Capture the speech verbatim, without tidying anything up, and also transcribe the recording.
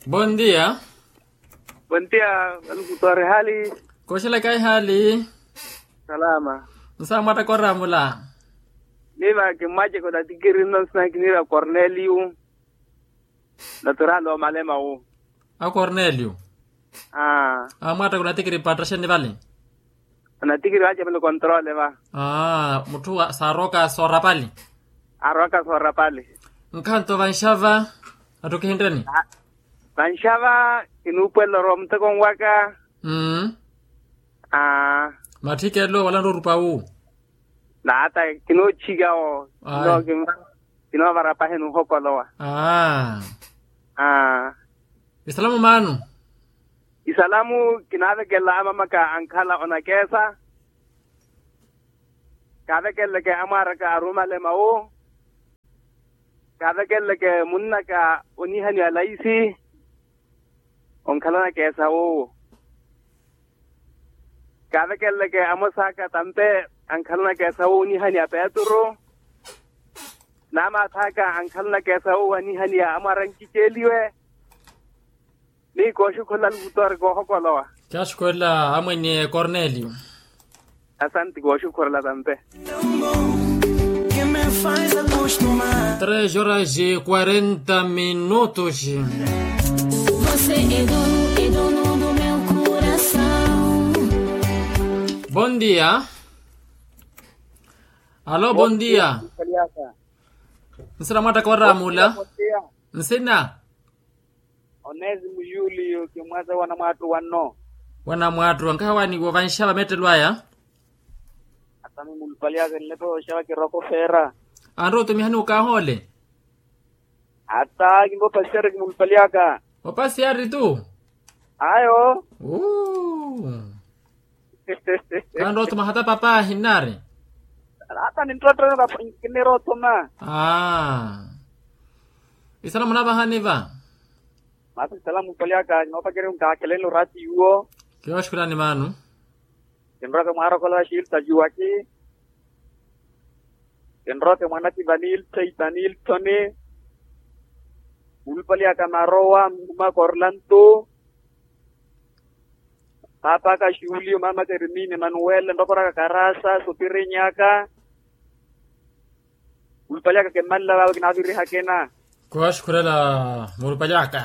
Bondia. Bondia. Alukutoori hali? Koxelaka ihali. Salama. Nsa mwattakora mula? Niva kimwaceko natikiri nno nsina kiniira korneliu. Natural omalema wu. A korneliu. Aa. Amwattakora natikiri pattaxeni vale? Anatikiri wace muli kontrole va. Aa mutthu saarooka soorapali. Aarooka soorapali. Nkhanto vanxava. Atthu kihintteni. Vanxava kinuupuwelela orowa muteko nwaka. Mmm. Aa. Matthikelo wala nrorupa wu. Naata kinoochika wo. Kinoovara paheni ohokolowa. Aa. Isalamu maanu. Isalamu kinaavekelela amamaka ankhala onakeesa. Kaavekeleleke amwaaraka arumalema wu. Kaavekeleleke munnaka onihaniwa laisi. Onkhala onakeesa wuwo. Kaavekeleleke amosaaka tampe ankhala onakeesa wuwo onihaniwa petru. Naamaathaaka ankhala onakeesa wuwo anihaniwa amwaara nkiceliwe. Ni kooxukhula lukutoori koohokolowa. Kyaxukhula amwene korneliu. Asanti kooxukhula tampe. Tres horas e quarenta minutos. Bondia. Alo bondia. Nsina mwattakora mula? Nsina. Onesi muyuli yo kimwaza wanamwattu wanno. Wanamwattu ankaha wani wovanxava mettelo aya. Ata mi mulupali aka nlepe oxava kiroko feera. Anrowa otumihani okaahole. Ata kimbo pasiari kimulupaliaka. Opasiari tu. Ayo. Kanrowa otuma hata papa ahinari. Ata ninrowa otuma. Kinira otuma. Aa. Isala munavahani va. Masi salamu mpaliaka ninoopakeriwa nkaakelenle orati yuwo. Kiwashukurani maanu. Kinroke mwaarokolowa xilta juwaki. Kinroke mwanaki vanilta itaniltoni. Mulupaliaka marowa mumaka orlanto. Paapaka xulio mamaka ermini emanuwele nrokoraka karasa sopirinyaka. Mulupali aka kimmanla vawe kinaaviriha kina. Kuwaxukhurela mulupali aka.